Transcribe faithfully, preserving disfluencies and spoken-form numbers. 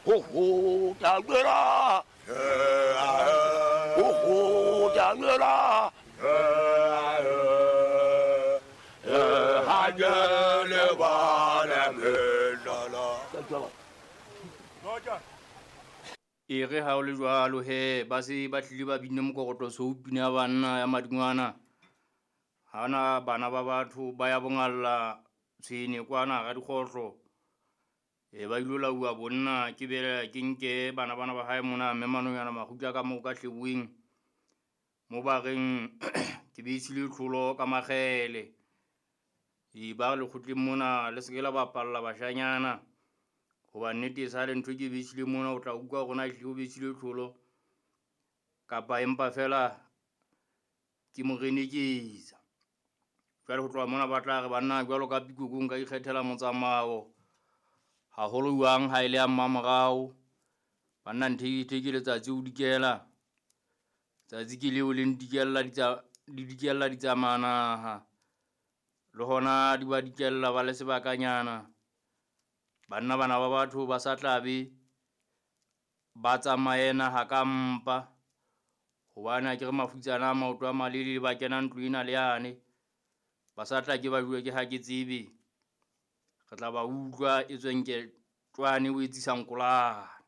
Ho ho ta gbera. Ho ho ta gbera. Ha le ba le la. E re ha o le jwalo he ba se ba tlile ba binne mokokotlo so pina ya banna ya madingwana. Ha na bana ba batho ba ya bongalla tshwene kwana ga dikgohlo. E ba ilo lauwa bonna ke bele ke nke bana bana ba hae mona mme Manonyana Makgutla ka moo ka hleboeng. Mo ba reng ke beisile tlholo ka makgele. E ba re lekgotleng mona le se ke la bapalla bashanyana. Hoba nnete e sale ntho ke beisile mona o tla utlwa hore na ehlile o beisile tlholo kapa empa fela ke moreneketsa. Jwale ho tloha mona ba tla re banna jwalo ka pikoko nka ikgethela motsamao. Haholo jwang ha e le ya mmamorao. Banna nthe ke letsatsi o dikela. Tsatsi ke leo le ntikella ditsa le dikella ditsamanaha. Le hona di ba dikella ba le sebakanyana. Banna bana ba batho ba sa tlabe ba tsamaye naha ka mpa. Hobane ha ke re mafutsana a maoto a malelele ba kena ntlo ena le yane. Ba sa tla ke ba bue ke ha ke tsebe. Re tla ba utlwa e tswe nke tjwane o etsisa nkolane.